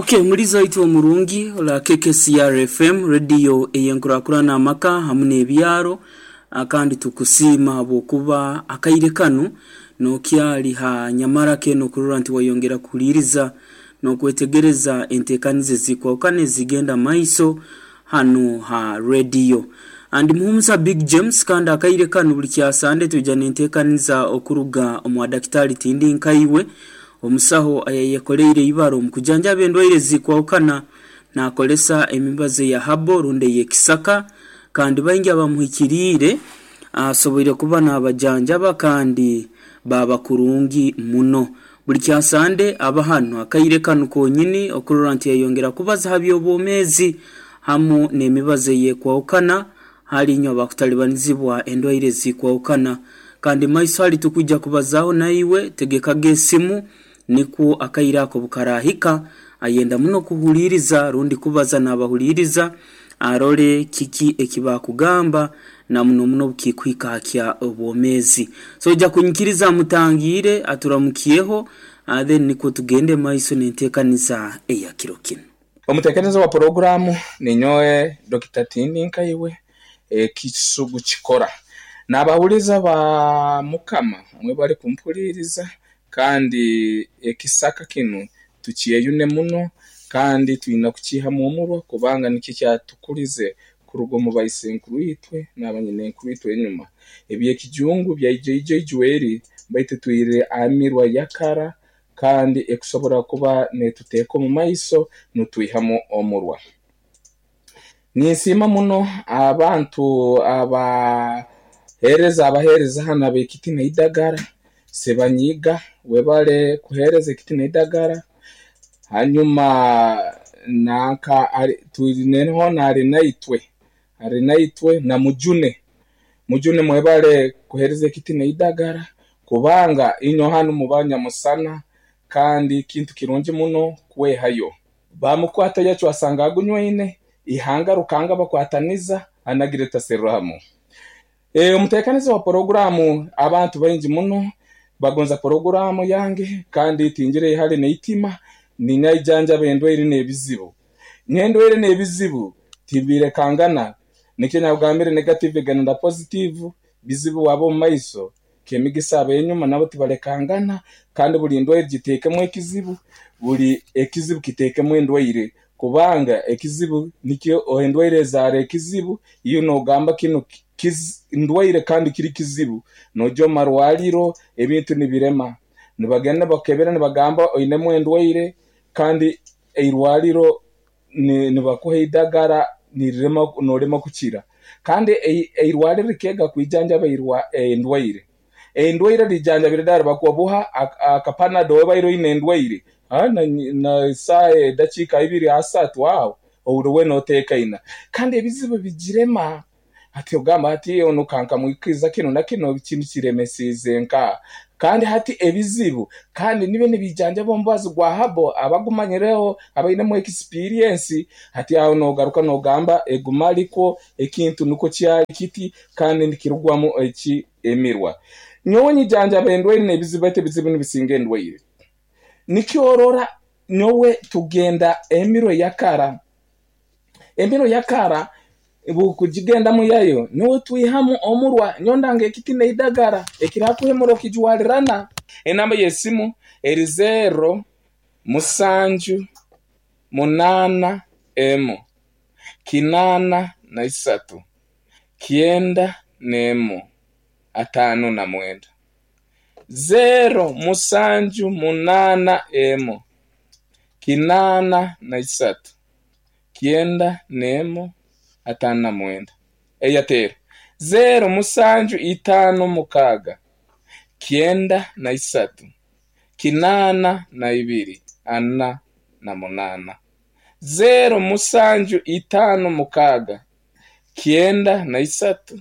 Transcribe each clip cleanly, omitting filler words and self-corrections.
Ok omulizi waitu omurungi ora KKCR FM radio eyenkurakurana amaka hamu nebyaro kandi tukusiima habwokuba akaire kanu nokyali ha nyamaraka enu okurora nti wayongera kuhuliriza nokwetegereza entekaniza ezikwahukana ezigenda mumaiso hanu ha radio. Ndi Muhumuza Big James kandi akaire kanu buli kyasande twija nentekaniza okuruga omwa Dakitari Tindi Nkaiwe Omusaho ayayekoleire ibara omu kujanjaba endwaire ezikwahukana nakolesa emibazi eya herbal rundi ey'ekisaka kandi baingi abamuhikiriire asoboire kuba nabajanjaba kandi baaba kurungi muno. Buli kya Sande aba hanu akaire kanu konyini okurora nti yayongera kubaza ha by'obwomeezi hamu n'emibazi eyekwahukana hali inywe abakutalibanizibwa endwaire ezikwahukana. Kandi maiso hali tukwija kubazaaho naiwe, tegekaga esimu nikwo akaire ako obukarahika ayenda muno kuhuliiriza rundi kubaza nabahuliiriza arole kiki ekibakugamba na muno muno obukikuhika ha kya obwomeezi. So oija kunyikiriza amutangiire aturamukyeho then nikwo tugende maiso nentekaniza eya kiro kinu. Omuteekereza wa puroguraamu ninyowe Dokita Tindi Nkaiwe, Ekisugu Kikora. Naabahuliiriza ba Mukama mwebale kumpuliiriza kandi ekisaka kinu tukyeyune muno kandi twine kukiihamu omurwa kubanga nikyo kyatukulize kuruga omu baisenkuru-itwe n'abanyinenkuru-itwe enyuma. Eby'ekijungu byaija ijo ijweri baitu twire aha mirwa ya kara kandi ekusobora kuba netuteeka omu maiso nitwihamu omurwa. Ninsiima muno abantu abaheereza abaheereza hanu ab'ekiti n'eidagara, Ssebanyiiga webale kuheereza ekiti n'eidagara, hanyuma nanka twine hoona Arinaitwe, Arinaitwe na Mujune. Mujune mwebale kuheereza ekiti n'eidagara kubanga inywe hanu muba nyamusana kandi kintu kirungi muno kwehayo. Baamukwata yacwa asanga agunywaine, ihanga Rukanga bakwataniza anagire taserramu. Omuteekaniza wa puroguraamu abantu baingi muno bagonza puroguraamu yange kandi tingira ihali n'eitima niinyajanjaba endwaire n'ebizibu. N'endwaire n'ebizibu tibirekangana nikyo nakugambire negative egenda na positive, bizibu waaba omu maiso Kemigisa ab'enyuma nabo tibalekangana kandi buli ndwaire giteekemu ekizibu, buli ekizibu kiteekemu endwaire kubanga ekizibu nikyo endwaire ezaara ekizibu, iwe noogamba kinu ndwaire kandi kiri kizibu, noija omu marwariro ebintu nibirema, nibagenda nibakukebera nibagamba oinemu endwaire kandi eirwariro nibakuha eidagara nirirema noorema kukira. Kandi eirwariro rikeega kwijanjaba endwaire. Endwaire rijanjabire ddala bakuha buha akapanado obaire oine endwaire na saaha edakiika ibiri asatu aho ohurra weena oteekaine. Kandi ebizibu bigirema. Hati ogamba hati onu ka nkamwikiriza kinu na kinu kinu kiremesiize nka. Kandi hati ebizibu kandi nibyo nibijanjaba omubazi gwa habo abagumanyireho abainemu ekisipiriensi. Hati aho nogaruka nogamba egumarikwo ekintu nikwo kyali kiti kandi nikirugwamu eki emirwa. Nyowe nyijanjaba endwaire n'ebizibu baitu ebizibu nibisinga endwaire. Nikyo orora nyowe tugenda emirwa eyakara. Emiro ya kara bw'okugigendamu yayo nyowe twihamu omurwa nyowe ndanga ekiti n'eidagara ekirakuhemura okijwarirana. Enamba y'esimu eri zeero musanju munaana emu kinaana na isatu kyenda n'emu ataano na mwenda. Zeero musanju munaana emu kinaana na isatu kyenda n'emu ataano na mwenda. Eyatero, zeero musanju itaano mukaaga kyenda na isatu kinaana na ibiri ana na munaana. Zeero musanju itaano mukaaga kyenda na isatu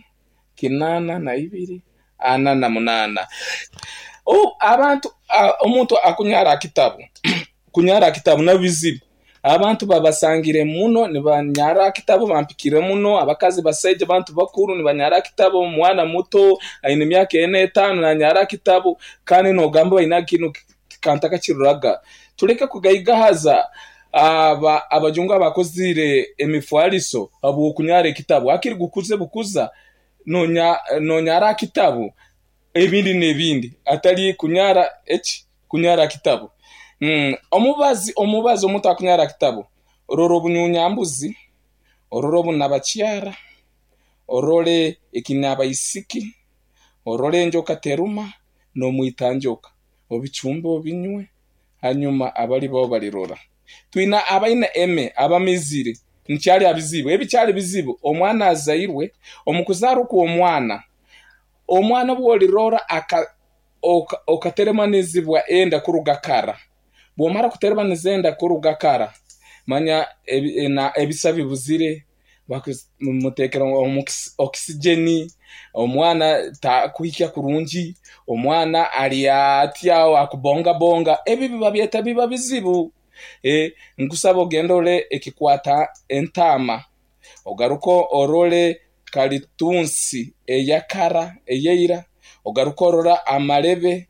kinaana na ibiri ana na munaana. Abantu omuntu akunyara aha kitabu kunyara aha kitabu nabizibu. Abantu babasangire muno nibanyara aha kitabo bampikire muno, abakazi basaija bantu bakuru nibanyara aha kitabo, omwana muto aine emyaka ena etaano nanyara aha kitabo kandi nogamba baine kinu kantu akakiruraga. Tuleke kugaigahaza. Aba abajungu abakozire emifariso habw'okunyara ekitabu hakiri gukuze bukuza nonyara aha kitabu ebindi n'ebindi atari kunyara eki kunyara kitabu. Omubazi omuntu akunyara kitabu orora obunyunyambuzi, orore obunabakyara, orore ekinabaisiki, orore enjoka teruma n'omwitanjoka obicumbe obinywe hanyuma abali bo balirora. Twina abaina eme abamizire nkyali abizibu ebikyali bizibu omwana azairwe omu kuzaarwa kw'omwana omwana obwolirora okateremanizibwa enda kuruga kara bwomara kuteremaniza enda kuruga kara manya ebisa bibuzire bamutekera oxygen omwana takuhikya kurungi omwana ali atya akubongabonga ebi biba byeta biba bizibu. Nkusaba ogende orole ekikwata entaama ogaruka orole kalitunsi eyakara eyeira ogaruka orora amarebe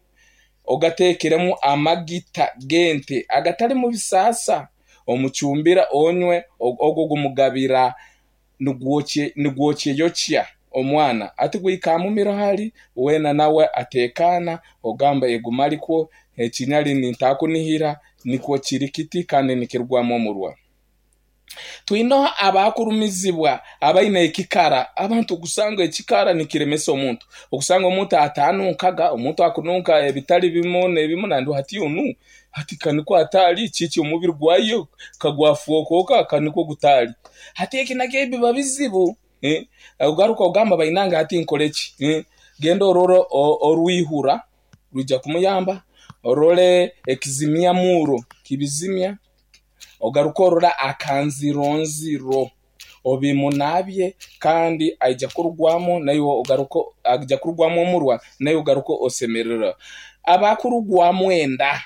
ogatekeremu amagita gente agatali mu bisaasa omucumbira onywe ogwo gumugabira nigwokyeyokya omwana ati gwikamumiro hali wena nawe atekana ogamba egumalikwo ekinyali nintakunihira nikwo kiri kiti kandi nikirugwamu omurwa. Twinoho abakurumizibwa abaine ekikara abantu okusanga ekikara nikiremesa omuntu okusanga omuntu atanunkaga omuntu akununka ebitali bimu n'ebimu nandu hati onu hati kaniko atali kiki omubiri gwayo kagwafuokoka kaniko gutali hati eki nakyo biba bizibu. Ogaruka ogamba bainanga hati nkoreki genda orore orwihura rwija kumuyamba orore ekizimya muro kibizimya ogaruka orora akanzironziro obimunabye kandi aija kurugwamu nayo ogaruka aija kurugwamu omurwa nayo ogaruka osemerera. Abakurugwamu enda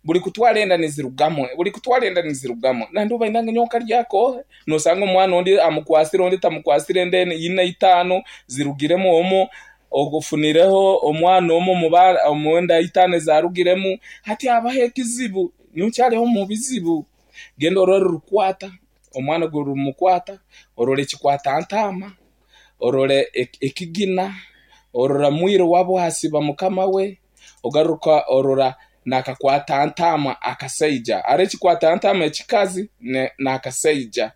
buli kutwara enda nizirugamo buli kutwara enda nizirugamo nandu bainanga nyoka lyako nosanga omwana ondi amukwasire ondi tamukwasire enda ina itano zirugiremu omo ogufunireho omwana omo omwenda itano zarugiremu hati abaho ekizibu nyokyaliho mu bizibu. Genda orore rukwata omwana gurumukwata orore ekikwata ntama orore ekigina orora mwire wabo hasiba mukama we ogaruka orora nakakwata ntama akasaija are ekikwata ntama ekikazi nakasaija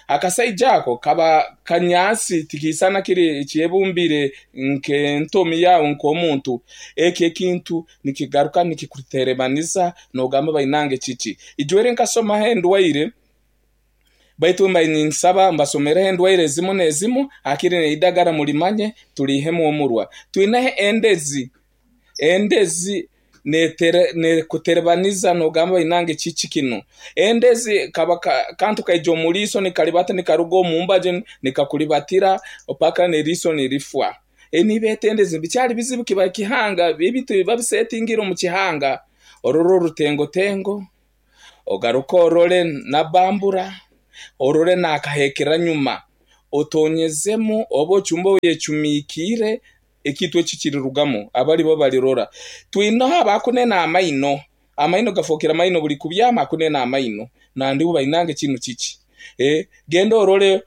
akasaija ako kaba kanyasi tikisana kiri kyebumbire nkentomi yawe nk'omuntu eki ekintu nikigaruka nikikuterebaniza nogamba bainange kiki ijwere nkasomaho endwaire baitu mba ninsaba mbasomereho endwaire ezimu n'ezimu hakiri neidagara mulimanye tulihemu omurwa. Twinaho endezi nekuterebaniza nogamba bainange kiki kino endezi kaba kantu kaija omuliiso nikalibata nikaruga omumbaje nikakulibatira opaka neriiso nirifwa. Nibeeta endezi bikyali bizibu kiba kihanga ebintu babisetingira omu kihanga orore orutengotengo ogaruka orore nabambura orore nakahekera nyuma otonyezemu oba ochumba oyechumikiire ekintu eki kirirugamu abali bo balirora. Twinaho abakunena amaino amaino gafokera amaino buli kubyama akunena amaino nandi bainange kinu kiki genda orore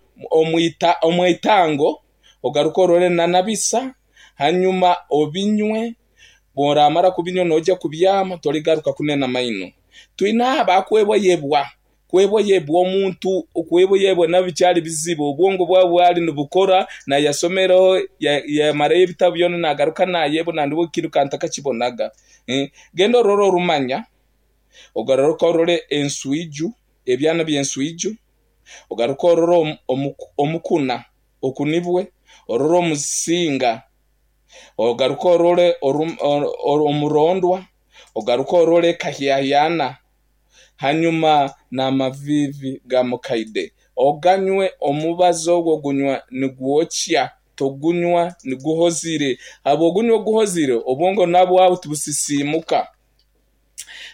omwitango ogaruka orore nanabisa hanyuma obinywe bworamara kubinywa noja kubyama toligaruka kunena amaino. Twinaho abakwebwayebwa kwebwayebwa omuntu okwebwayebwa nabikyali bizibu obwongo bwawe bwali nibukora nayasomero yamarayo ebitabo byona nagaruka nayebwa nandi kintu kantakakibonaga. Genda orore orumanya ogaruka orore enswiju ebyana by'enswiju ogaruka orore omukuna okunibwe orore omusinga ogaruka orore omurondwa ogaruka orore kahyayana hanyuma n'amavivi ga mukaide oganywe omubazi ogwo gunywa nigwokya togunywa niguhozire habwogunywa oguhozire obwongo nabwo tubusisimuka.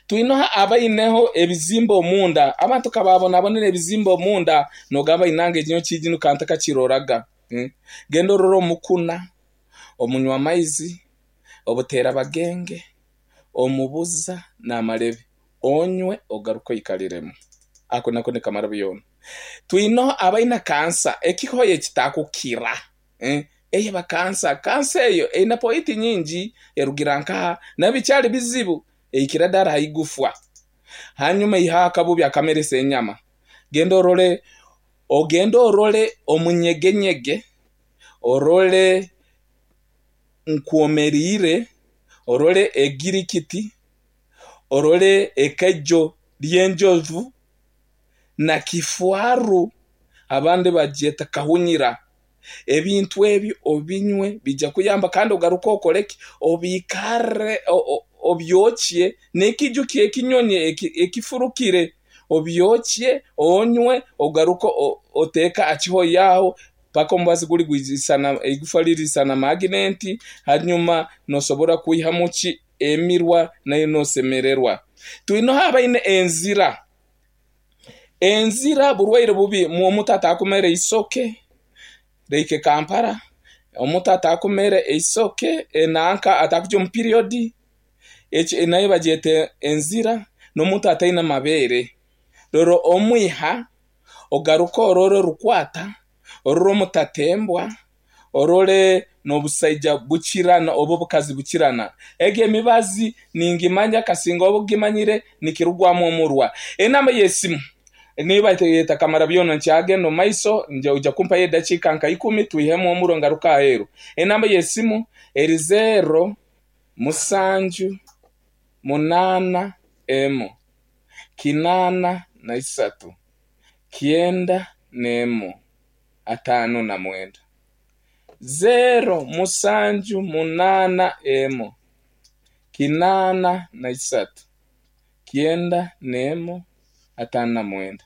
Twinoho abaineho ebizimba omunda abantu kababonabonera ebizimba omunda nogamba inange ekinyo kijinu kantakakiroraga. Genda orore omukuna omunywa amaizi obutera bagenge omubuza n'amarebe onywe ogaruka oikaliremu. Ako nako nikamara byona. Twineho abaine kansa, ekihoya ekitakukira. Eba kansa. Kansa eyo eine pointi nyingi, erugira nkaha, nabyo bikyari bizibu, ehikira dara aha igufa. Hanyuma eihaho akabubi akameresa enyama. Genda orore, ogende orore omunyegenyege, orore nkwomereire, orore egirikiti, orore ekaijo ry'enjovu na kifaru, abandi bagyeta kahunyira. Ebintu ebyo obinywe bija kuyamba kandi ogaruke okore ki? Obikarre obyokye n'ekiju ky'ekinyonyi ekifurukire obyokye onywe ogaruke oteeke aha kihoyi aho paka omubazi guri gwisana eigufa ririsana maginenti hanyuma nosobora kwihamu ki emirwa nayo nosemererwa. Twineho abaine enzira. Enzira burwaire bubi omuntu atakumera eisoke reike Kampala, omuntu atakumera eisoke enanka atakugya omu period eki nayo bagyeta enzira n'omuntu ataine mabeere. Rero omwiha ogaruke orore orukwata, orore omutatembwa, orore n'obusaija bukirana oba obukazi bukirana. Egyo emibazi ningimanya kasinga oba ogimanyire nikirugwamu omurwa. Enamba y'esimu niyo bayeta kamara byona nkyagenda omu maiso oija kumpayo edakiika nka ikumi twihemu omurwa ngaruke aheeru. Enamba y'esimu eri 0 7 8 1 83 91 59. 0 7 8 1 83 91 59.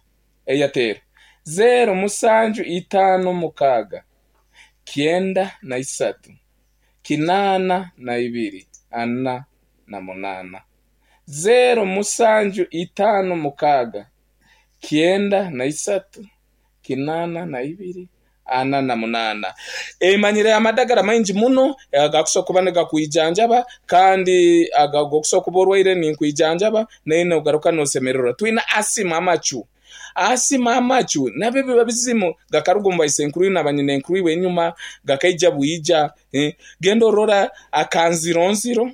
Eyatero 0 7 5 6 93 82 48. 0 7 5 6 93 82 48. Emanyire amadagara maingi muno agakusobola kuba nigakwijanjaba kandi agakusobola kuba orwaire ninkwijanjaba naye nogaruka nosemererwa. Twine asima amacu. Asima amacu nabyo biba bizimu gakaruga omu baisenkuru na banyinenkuru iwe enyuma gakaija bwija. Genda orora akanzironziro,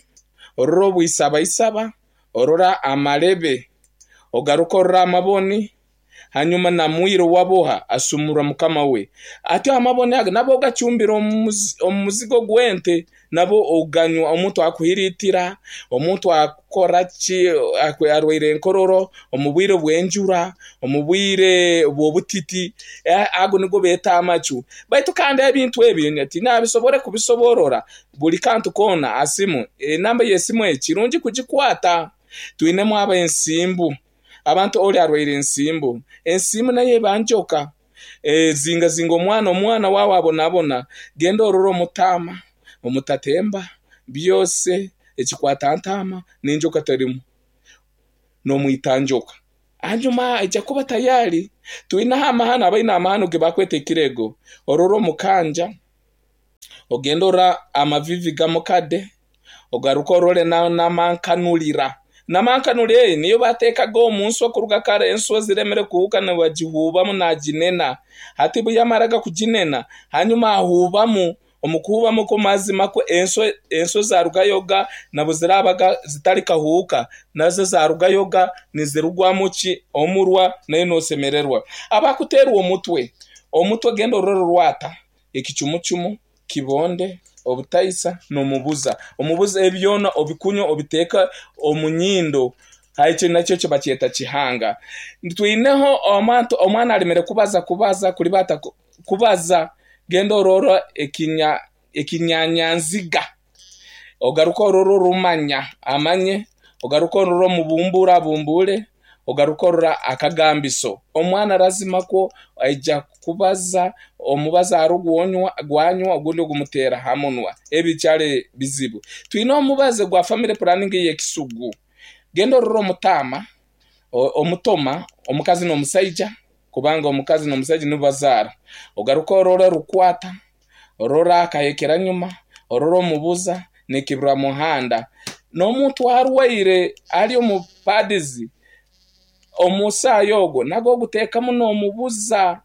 orora obwisabaisaba, orora amarebe, ogaruka orora amaboni, hanyuma na mwiro waboha asumura mukama we. Atyo amaboni aga nabo ogacumbira omu muzigo gw'ente, nabo oganywa omuntu akuhiritira, omuntu akora ki arwaire enkororo, omu bwire bw'enjura, omu bwire bw'obutiti, ago nigo beeta amacu. Baitu kandi ebintu ebi tinabisobora kubisoborora buri kantu koona asimu. Enamba y'esimu egi kirungi kugikwata. Twinemu ab'ensimbu. Abantu ori arwaire ensimbu. Ensimbu nayo eba njoka. Zingazinga omwana, omwana wawe abonabona. Genda orore omutaama, omutatemba, byose ekikwata ntaama n'enjoka terimu. N'omwita njoka. Hanyuma aija kuba tayari. Twineho amahano, abaine amahano ge bakweta ekirego. Orore omukanja, ogenda orora amavivi gamukade, ogaruka orore n'amankanurira. Namankanurira eyi niyo bateekaga omu nswa kuruga kare, enswa ziremere kuhuka nibagihuubamu naginena. Hati buyamaraga kuginena, hanyuma ahuubamu, omu kuhuubamu ko mazima ko enswa zarugayoga nabo zirabaga zitari kahuuka, nazo zarugayoga nizirugwamu ki omurwa nayo nosemererwa. Abakuteerwa omutwe, omutwe genda orore rwata, ekicumucumu, kibonde, obutaisa n'omubuza. Omubuza ebyona obikunywa obiteeka omu nyindo. Ekyo nakyo kyo bakyeta kihanga. Twineho omuntu omwana aremere kubaza kubaza kuribata kubaza, genda orora ekinyanyanziga. Ogaruka orora orumanya amanye, ogaruka orora omubumbura abumbure, ogaruka orora akagambiso. Omwana lazima kwo aija kubaza, omubaza arugwonywa gwanywa ogundi ogumuteera ha munwa. Ebi kyari bizibu. Twine omubazi gwa family planning y'ekisugu. Genda orora omutaama, omutoma, omukazi n'omusaija, kubanga omukazi n'omusaija nibo bazaara. Ogaruka orora rukwata, orora akahekera nyuma, orora omubuza n'ekibura muhanda. N'omuntu arwaire ari omu padizi Omusaayi ogwo nagwo oguteekamu noomubuza.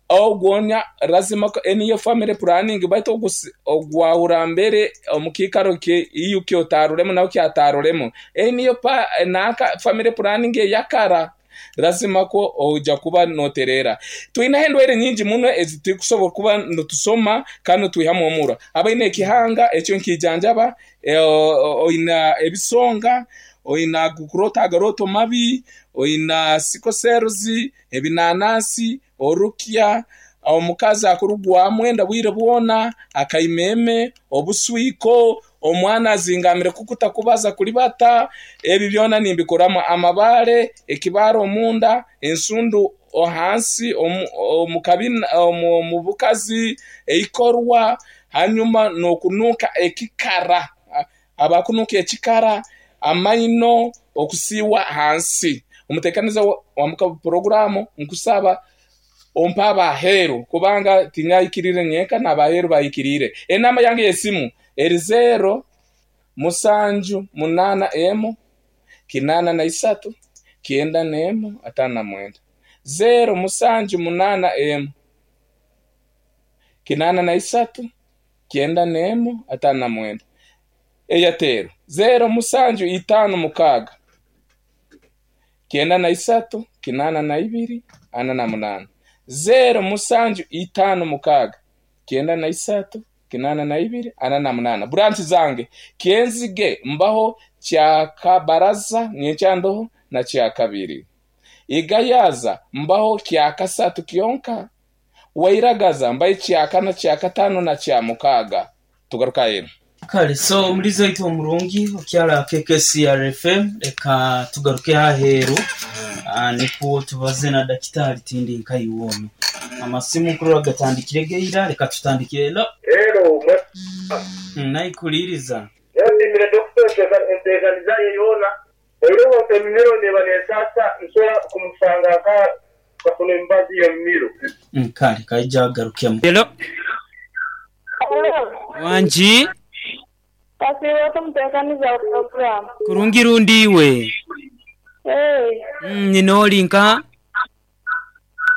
Ogwo nya lazima eniyo family planning baitu ogwahura mbere omu kiikaro iwe ky'otaaroremu nawe kyataaroremu. Eniyo nanka family planning eya kara. Lazima kwo oija kuba nootereera. Twineho endwaire nyingi muno ezi turikusobora kuba nitusoma kandi nitwihamu omurwa. Abaine ekihanga ekyo nikiijanjaba, oine ebisonga, oine ago kuroota agarooto mabi, oine sickle cells, ebinanasi, orukya, omukazi akurugwamu enda bwire bwona, akaimeeme, obuswiko, omwana azingamire kukuta kubaza kuribata, ebi byona nimbikoramu. Amabaare, ekibaare omunda, ensundu ahansi omu kabina omu bukazi, eikorwa, hanyuma n'okunuuka ekikara, abakunuuka ekikara, amaino okusiiwa ahansi. Omuteekaniza wa puroguraamu nkusaba ompe ab'aheeru kubanga tinyahikiriire nyenka n'ab'aheeru bahikiriire. Enamba yange y'esimu eri zeero musanju munaana emu kinaana na isatu kyenda n'emu ataano na mwenda. Zeero musanju munaana emu kinaana na isatu kyenda n'emu ataano na mwenda. Eyatero zeero musanju itaano mukaaga kyenda na isatu kinaana na ibiri ana na munaana. Zeero musanju itaano mukaaga kyenda na isatu kinaana na ibiri ana na munaana. Branch zange Kyenzige mbaho Kyakabaraza nyenkyandoho na Kyakabiri. Igayaza mbaho Kyakasatu kyonka. Wairagaza mbayo Kyakana, Kyakataano na Kyamukaaga. Tugaruke aheeru. Kale so omulizi waitu omurungi okyali aha KKCR FM leka tugaruke aheeru nikwo tubaze na dakitaali tindi nkaiwe ono. Amasimu nkurora gatandikire geira leka tutandikire. Hello. Hello mwena. Naikuliiriza. Nesiimire Dokita enteekaniza ye yoona. Oihireho emimiro neeba nesaasa nsobola kumusanga nka tukafuna emibazi y'emimiro. Kale kaija agarukemu. Hello. Hello. Wangi. Kasiiba ota omuteekaniza wa puroguraamu? Kurungi rundi iwe? Eeh. Nyina oli nka?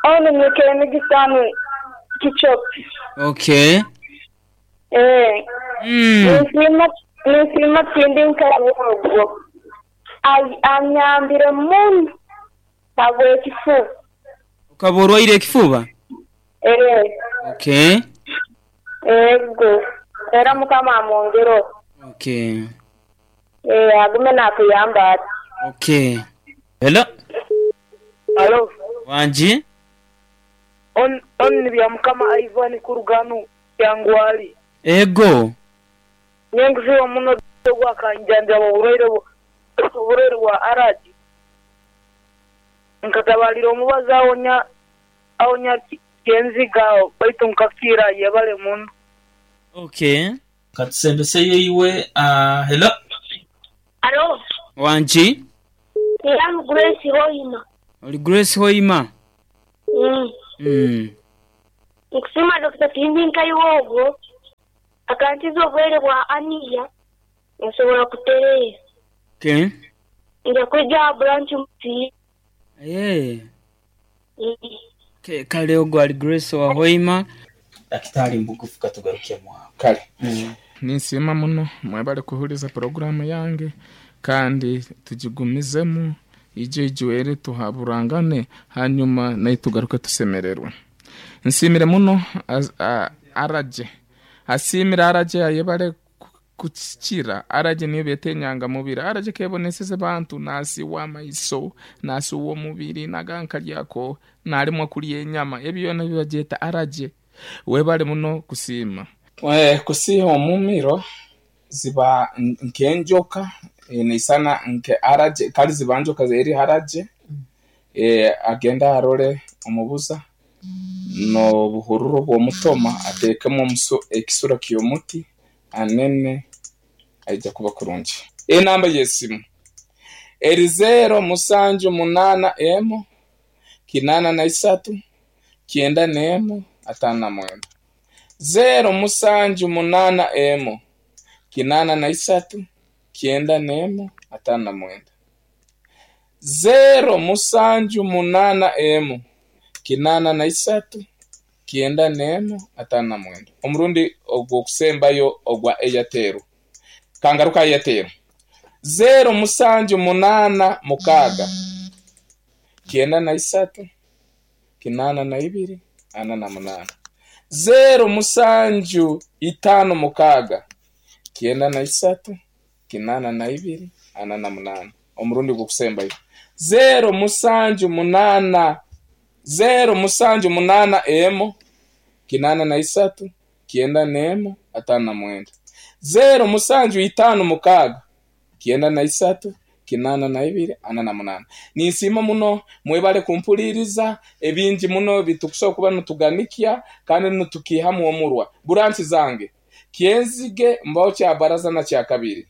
Onu ni Kemigisa Kichopi. Okay. Eeh. Ninsiima ninsiima tindi nka ogwo. Anyambire muno habw'ekifuba. Okaba orwaire ekifuba? Eeh. Okay. Ego. Era Mukama amwongereho. Okay. Eeh agume nakuyamba ati. Okay. Hello. Halo. Wangi. On on ni Byamukama Ivan kuruga hanu Kyangwali. Ego. Nyenkuziibwa muno ogu akanjanjaba oburwaire oburwaire bwa araji. Nkatabalira omubazi awonya awonya kyenziga agho baitu nkakira yebale muno. Okay. Katusembeseyo iwe. Hello. Alo. Wangi. I am Grace Hoima. Oli Grace Hoima? Mm. Nkusiima Dokita tindi nkaiwe ogwo akankiza obulwaire bwa aniya nsobola kutereera. Okay. Nja kwija aha branch musiime. Aye. Okay, kale ogwo ali Grace owa Hoima. Dakitaali mubugufu katugarukemu agho. Kale ninsiima muno mwebale kuhuriza puroguraamu yange kandi tugigumizemu ije ijwere tuhaburangane hanyuma naitwe tugaruke tusemererwe. Nsiimire muno Araje asiimire Araje ayebare kukira. Araje niyo beeta enyangamubiri. Araje keboneseze bantu nasiiwa amaiso, nasiiwa omubiri, nagankaryako, naremwa kurya enyama. Ebyo byona nibagyeta Araje. Webare muno kusiima. Kusiiha omumiro ziba nk'enjoka neisana nke araje kare ziba njoka eri araje agende arore omubuza n'obuhururu bw'omutoma ateekemu ekisura ky'omuti anene aija kuba kurungi. Enamba y'esimu eri zeero musanju munaana emu kinaana na isatu kyenda n'emu ataano na mwenda. Zeero musanju munaana emu kinaana na isatu kyenda n'emu ataano na mwenda. Zeero musanju munaana emu, kinaana na isatu, kyenda n'emu, ataano na mwenda. Omurundi ogw'okusembayo ogwa Airtel. Kangaruke aha Airtel. Zeero musanju munaana mukaaga, kyenda na isatu, kinaana na ibiri, ana na munaana. Zeero musanju itaano mukaaga, kyenda na isatu, kinaana na ibiri, ana na munaana. Omurundi ogw'okusembayo. Zeero musanju munaana, zeero musanju munaana emu, kinaana na isatu, kyenda n'emu, ataano na mwenda. Zeero musanju itaano mukaaga, kyenda na isatu, kinaana na ibiri, ana na munaana. Ninsiima muno, mwebale kumpuliiriza, ebingi muno bitukusobola kuba nituganikya kandi nitukiihamu omurwa. Buranchi zange, Kyenzige mbaho kya baraza na kya kabiri.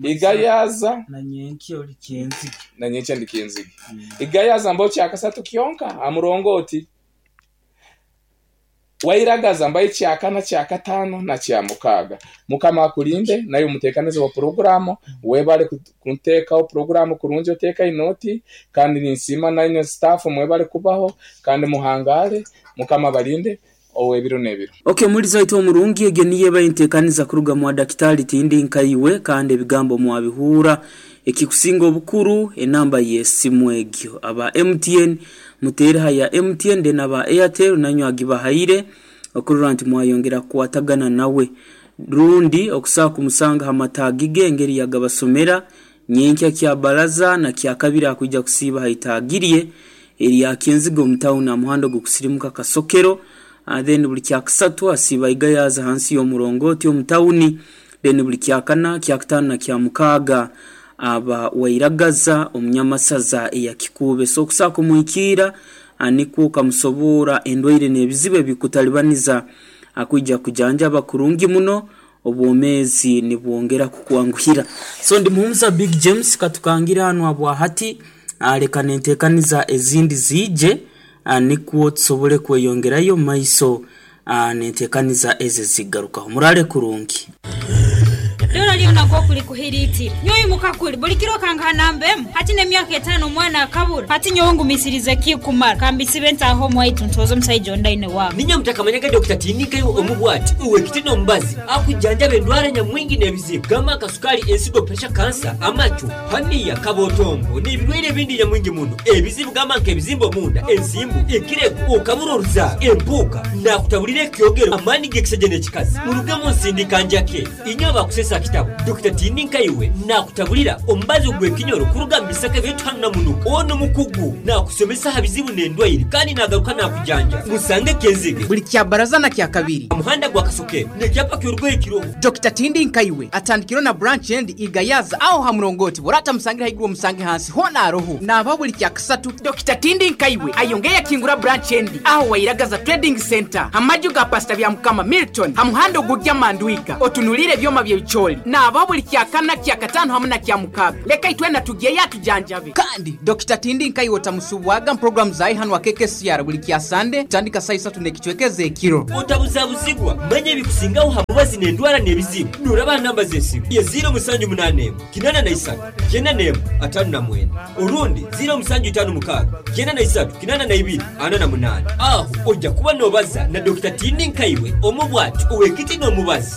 Igayaza Na nyenkya ori Kyenzige. Na nyenkya ndi Kyenzige. Igayaza mbaho kya kasatu kyonka aha murongooti. Wairagaza mbaho ekyakana, kyakataano na kyamukaaga. Mukama akurinde naiwe omuteekanizi wa puroguraamu webale kuteekaho puroguraamu kurungi oteekaine oti kandi ninsiima nainywe sitaafu mwebale kubaho kandi muhangaare Mukama abarinde ow'ebiro n'ebiro. Ok omuhuriza waitu omurungi egyo niyo eba entekaniza kuruga mwa Dakitari tindi nkaiwe kandi ebigambo mwabihuura. Ekikusinga obukuru enamba y'esimu egyo. Aba MTN muteere ha ya MTN then aba Airtel nanywe agibahaire okurora nti mwayongera kukwatagana nawe. Rundi okusobola kumusanga ha mataagi ge engeri yagabasomera nyenkya kya baraza na kyakabiri akwija kusiiba ha itaagi rye erya Kyenzige omu tawuni aha muhanda ogw'okusirimuka Kasokero then buri kyakasatu asiiba Igayaza hansi y'omurongoti omu tawuni then buri kyakana, kyakataano na kyamukaaga aba Wairagaza omu Nyamasaza eya Kikuube. So okusobola kumuhikiira nikwo okamusoboora endwaire n'ebizibu ebikutalibaniza akwija kujanjaba kurungi muno obwomeezi nibwongera kukwanguhira. So ndi Muhumuza Big James katukangire hanu habwahati leka nentekaniza ezindi ziije nikwo tusobole kweyongerayo mumaiso nentekaniza ezo ezigarukaho. Muraale kurungi. Dora lyona nk'oku likuhiriitire. Nyowe imuka kuri, buli kiro okangaha namba emu. Hati n'emyaka etaano omwana akabura. Hati nyowe ngumisirize ki kumara? Ka mbisibe ntaahe omwaitu ntooze omusaija ondi aine waaka. Niinywe mutakamanyaga Dokita Tiinikayo omu bwati, ow'ekiti n'omubazi, akujanjaba endwara nyamwingi n'ebizibu gamba nka sukaali, ensigo, puresha, kansa, amacu, haniya, kabotongo n'ebirwaire ebindi nyamwingi muno. Ebizibu gamba nk'ebizimba omunda, ensimbu, ekirego, okabura oruzaaro, empuuka, naakutaburira ekyogero, amaani g'ekisaija n'ekikazi. Murugemu nsindika njake. Inywe abakusesa kitabo, Dokita Tiini Nkaiwe naakutaburira omubazi ogw'ekinyoro kuruga mu bisaka ebyaitu hanu Namunuka. Onu mukugu naakusomesa aha bizibu n'endwaire kandi naagaruka naakujanja. Musange Kenzige. Buli Kyabaraza na Kyakabiri. Aha muhanda gwa Kasokero n'ekyapa ky'orugoye kiroho. Dokita Tindi Nkaiwe atandikireho na branch endi Igayaza aho ha murongoti bw'oraba otamusangire haiguru omusange hansi hoona aroho. Naabaho buli Kyakasatu. Dokita Tindi Nkaiwe ayongeire yakingura branch endi aho Wairagaza Trading Centre ha maju ga Pastor Byamukama Milton ha muhanda ogugya Mandwiga otunuliire ebyoma by'ebicoori. Naabaho buli Kyakana, Kyakataano hamu na Kyamukaaga. Leka itwena tugyeyo atujanjabe. Kandi Dokita Tindi Nkaiwe otamusubwaga mu puroguramu zaaye hanu aha KKCR buli Kyasande kutandika saaha isatu n'ekicweka ez'ekiro. Otabuzabuzibwa, manya ebikusingaho ha mubazi n'endwara n'ebizibu noraba aha namba z'esimu ye ziiro musanju munaana emu, kinaana na isatu, kyenda n'emu, ataano na mwenda orundi ziiro musanju itaano mukaaga, kyenda na isatu, kinaana na ibiri, ana na munaana. Aho oija kuba nobaza na Dokita Tiini Nkaiwe omu bwati ow'ekiti n'omubazi.